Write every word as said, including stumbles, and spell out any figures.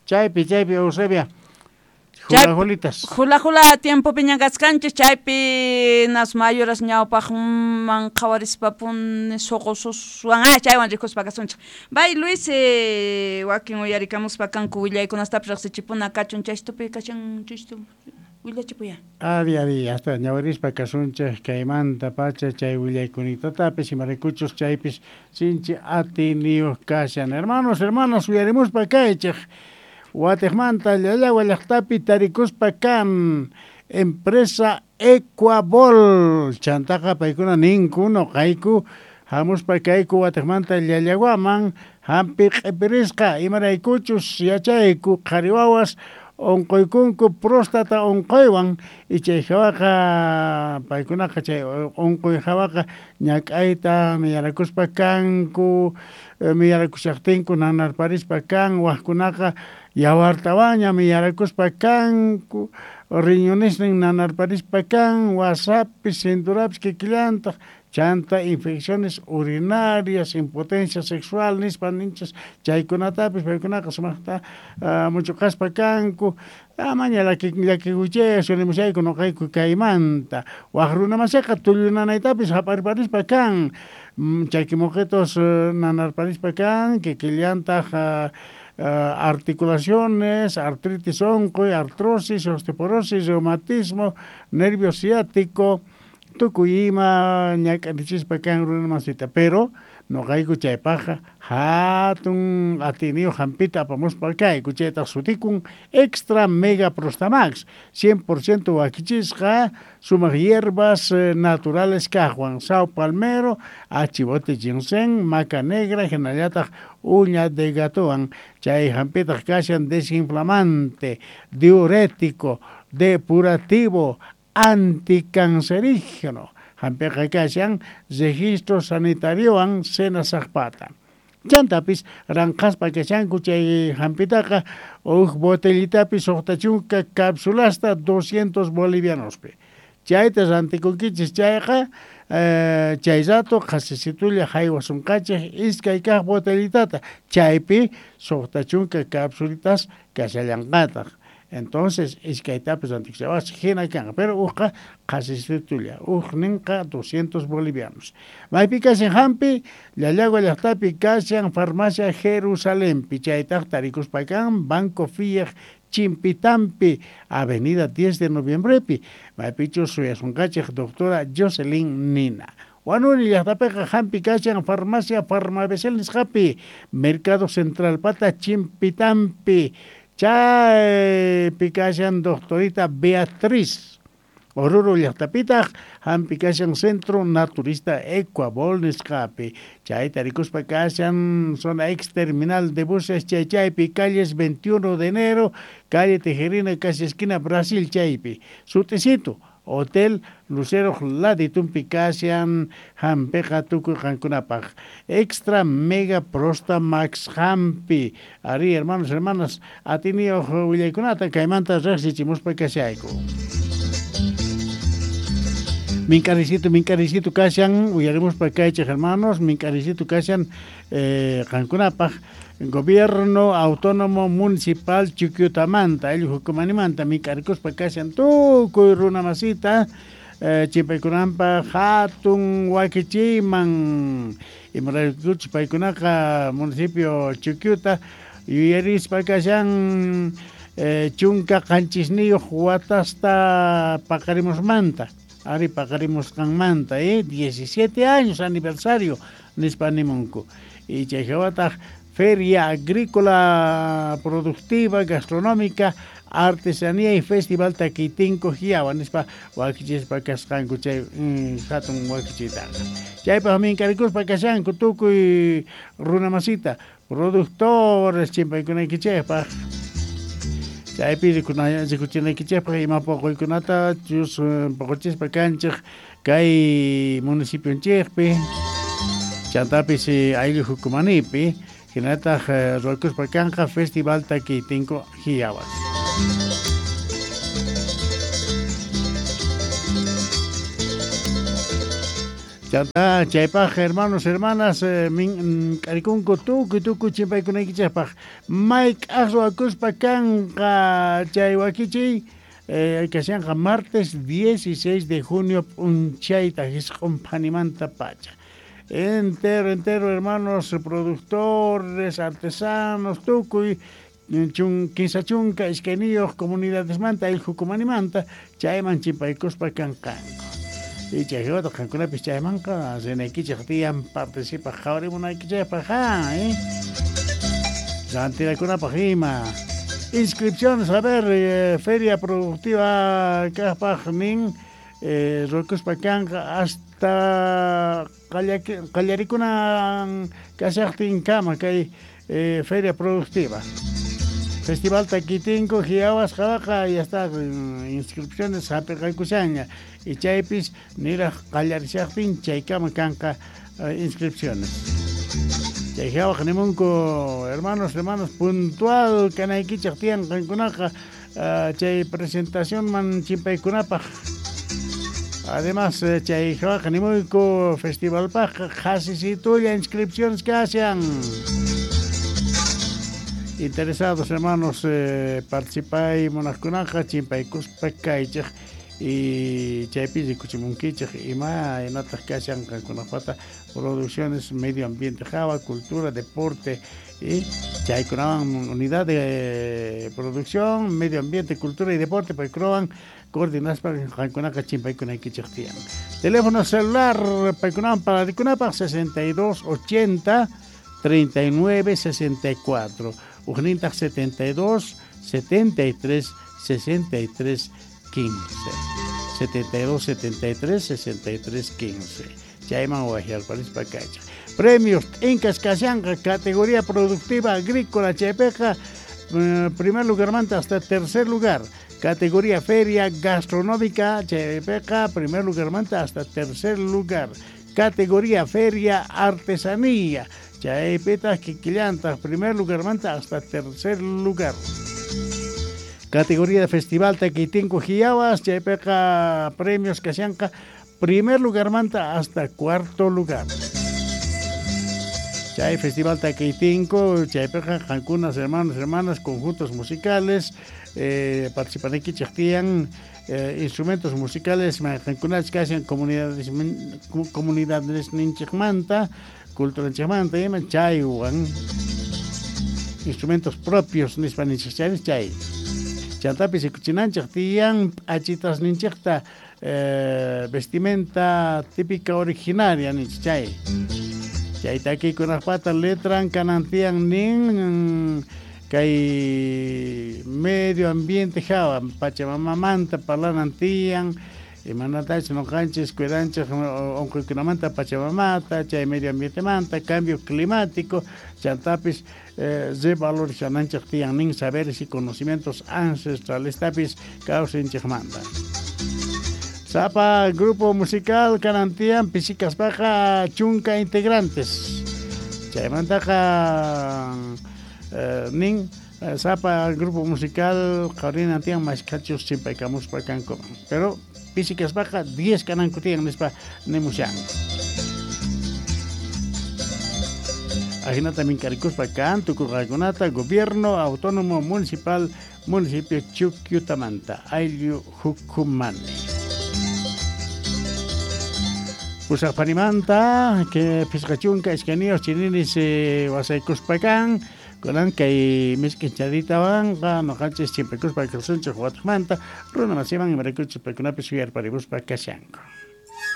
Chaypi, chaypi, Eusebia. Jula julitas. Jula jula tiempopi ñakaskanchis chaypi nas mayuras ñawpaqman qhawarispapuni suqususwan ah chaywan rikuspa kasunchik. Bay Luis eh, wakin uyarikamuspa kanku willaykunastapis riqsichipuna kachun chaystupi kachan chaystu willachipuya. Ari ari hasta ñawirispa kasunchik kaymanta pacha chay willaykunitapis imaraykuchus chaypis sinchi atiniyuq kashan. Hermanos, hermanas, uyarimuspa kaychik. Wateqmanta Llallagua llaqtapi tarikuspa kan empresa Ecuabol chantaqa paykuna ninku nuqayku hamuspa kayku wateqmanta Llallaguaman hampi q'ipirisqa imaraykuchus yachayku qhari wawas unquykunku próstata unquywan y chay hawaqa paykunaqa chay unquy hawaqa ñak'ayta miyarakuspa kanku miyarakushaqtinku nanarparispa kan waqkunaqa yawartawanña miyarakuspa kanku riñonesnin nanarparispa kan wasapis cinturapis kikillantaq chanta infecciones urinarias, impotencia sexual nispa ninchis chaykunatapis paykunaqa sumaqta uh, muchuqaspa kanku amaña llakikuychis sunimushayku nuqayku kaymanta waq runamasiqa tullunanaytapis hap'arparispa kan chaykimuqitus uh, nanarparispa kan kikillantaq uh, Uh, articulaciones, artritis unquy, artrosis, osteoporosis, reumatismo, nervio ciático, tukuy ima ñak'arichispa kan runamasita, pero nuqayku chaypaqqa hatun atiniyuq hampita apamuspa kayku chaytaq sutikun Extra Mega Prostamax cien por ciento wakichisqa sumaq hierbas eh, naturales kaqwan sao palmero, achibote ginseng, maca negra, hinallataq uña de gatowan chay hampitaq kashan desinflamante, diurético, depurativo, anticancerígeno. Hampiqa kashan registro sanitariowan senasaqpata. Chantapis ranqaspa kashanku chay hampitaqa huk botellitapis suqta chunka cápsulasta doscientos bolivianospi. Chayta rantikunkichis chayqa eh, chay rato qhasisitulla haywasunqachik iskay kaq botellitata chaypi suqta chunka cápsulitas kashallanqataq. Entonces, iskaytapis rantikushawas hina kanqa, pero uqqa qhasisitulla, uqninqa doscientos bolivianos. Maypi kashan hampi, Llallagua llaqtapi kashan farmacia Jerusalempi, chaytaq tarikuspa kan Banco Fiej Chimpitampi, Avenida diez de Noviembrepi, maypichus suyasunqachik doctora Jocelyn Nina. Huanuni llaqtapiqa hampi kashan farmacia Farmabecel nisqapi, Mercado Central pata Chimpitampi, chaypi kashan doctorita Beatriz. Oruro llaqtapitaq hampi kashan Centro Naturista Ecuabol nisqapi. Chay tarikuspa kashan zona ex terminal de buses chay chaypi calles veintiuno de enero, calle Tejerina, casi esquina Brasil chaypi. Suticito, Hotel Lucero Laditumpi kashan hampiqa tukuy qankunapaq. Extra Mega Prosta Max hampi. Ari, hermanos, hermanas, atiniyuq willaykunata kaymanta riqsichimuspa kashayku. Minkaricito, minkaricito kashan, uyarimuspa kaychik hermanos, minkaricito kashan eh, qankunapaq. Gobierno Autónomo Municipal Chuquiutamanta, ayllu hukumanimanta mink'arikuspa kashan tukuy runamasita eh, chimpaykunanpaq hatun wakichiyman imaraykuchus paykunaqa municipio Chuquiuta yuyarispa kashan eh, chunka qanchisniyuq watasta paqarimusmanta ari paqarimusqanmanta eh, diecisiete años aniversario nispa nimunku y chay hawataq Feria Agrícola Productiva, Gastronómica, Artesanía y Festival Taquitinco Jiawa nispa wakichispa kasqanku chay mm, hatun wakichitaqa. Chaypaq mink'arikuspa kashanku tukuy runamasita, productores chimpaykunaykichikpaq. Chaypi rikuchinaykichikpaq ima poqoykunata chus poqochispa kanchik kay municipionchikpi chantapis ayllu hukumanipi hinataq ruwakuspa kanqa Festival Taquitinco Jiawas. Chanta chaypaj hermanos hermanas eh, min k'arikunku tukuy tukuy chimpaykunaykichikpaq mayk'aj ruwakuspa kanqa chay wakichiy eh, kashanqa martes dieciséis de junio p'unchayta jisq'un phanimanta pacha. Entero, entero, hermanos, productores, artesanos, tukuy chun, kinsa chunka iskayniyuq comunidadesmanta ayllukumanimanta chayman chimpaykuspa kanqanku. Y chayjawata qankunapis chaymanqa rinaykichik tiyan participaq qhawarimunaykichikpaq ja, eh? Rantirakunapaq ima. Inscripciones, a ver, eh, feria productiva kaqpaq nin eh, ruwakuspa kanqa hasta qallarikunan kashaqtinkama kay eh, feria productiva. Festival Taquitinku, Jiawas, Jawaqa, ya está, inscripciones hap'iqaykushanña. Y chaypis niraj qallarishaqtin chaykama kanqa inscripciones. Chay jawaq nimunku, hermanos, hermanos, puntual kanaykichik tiyan qankunaqa chay presentacionman chimpaykunapaq. Además, chay jawaq nimuyku festivalpaq qhasisitulla inscripciones kashan. Interesados hermanos, eh, participay munaqkunaqa chimpaykuspa kaychik y chaypi rikuchimunkichik ima imataq kashan qankunapata producciones, medio ambiente jawa, cultura, deporte y chaykunawan unidad de producción, medio ambiente, cultura y deporte paykunawan coordinaspa qankunaqa chimpaykunaykichik tiyan. Teléfono celular paykunawan pararikunapaq sesenta y dos ochenta treinta y nueve sesenta y cuatro. Ujnintaq setenta y dos, setenta y tres, sesenta y tres, quince. setenta y dos, setenta y tres, sesenta y tres, quince. Chayman wajialparispa kaychik. Premios Incas kashanqa categoría productiva agrícola chaypiqa eh, primer lugarmanta hasta tercer lugar. Categoría feria gastronómica chaypiqa primer lugarmanta hasta tercer lugar. Categoría feria artesanía chaypitaq kikillantaq primer lugarmanta hasta tercer lugar. Categoría de festival Taquitinku Jiawas chaypiqa premios kashanqa primer lugarmanta hasta cuarto lugar. Chay festival Taquitinku chaypiqa qankunas hermanos hermanas conjuntos musicales eh, participanaykichik tiyan eh, instrumentos musicales qankunach kashan comunidades comunidades ninchikmanta culturanchikmanta ima chaywan instrumentos propios nispa ninchik chaypis chay chantapis rikuchinanchik tiyan p'achitas ninchikta eh, vestimenta típica originaria ninchik chay chay takiykunaqpata letran kanan tiyan nin kay medio ambiente jawa pachamamamanta parlanan tiyan imanatach noqanchis cuidanchik unquykunamanta pachamamata chay medio ambientemanta cambio climático chantapis eh, revalorizananchik tiyan nin saberes y conocimientos ancestrales tapis kawsinchikmanta. Sapa grupo musical kanan tiyan pisikaspaqa chunka integrantes chaymantaqa eh, nin sapa grupo musical qhawrinan tiyan mashkhachus chimpaykamuspa kankuman pero pisikaspaqa diez kananku tiyan nispa nimushanku. Ajinata minkarikuspa kan tukurqaykunata Gobierno Autónomo Municipal Municipio Chuquiutamanta ayllu Jucumani. Pusaqpanimanta que pisqa chunka iskayniyuq chininis eh, wasaykuspa kan kunan kay misk'inchaditawanqa noqanchis chimpaykuspa kasunchik watuqmanta runa masiman imaraykuchus paykunapis yuyarparimuspa kashanku.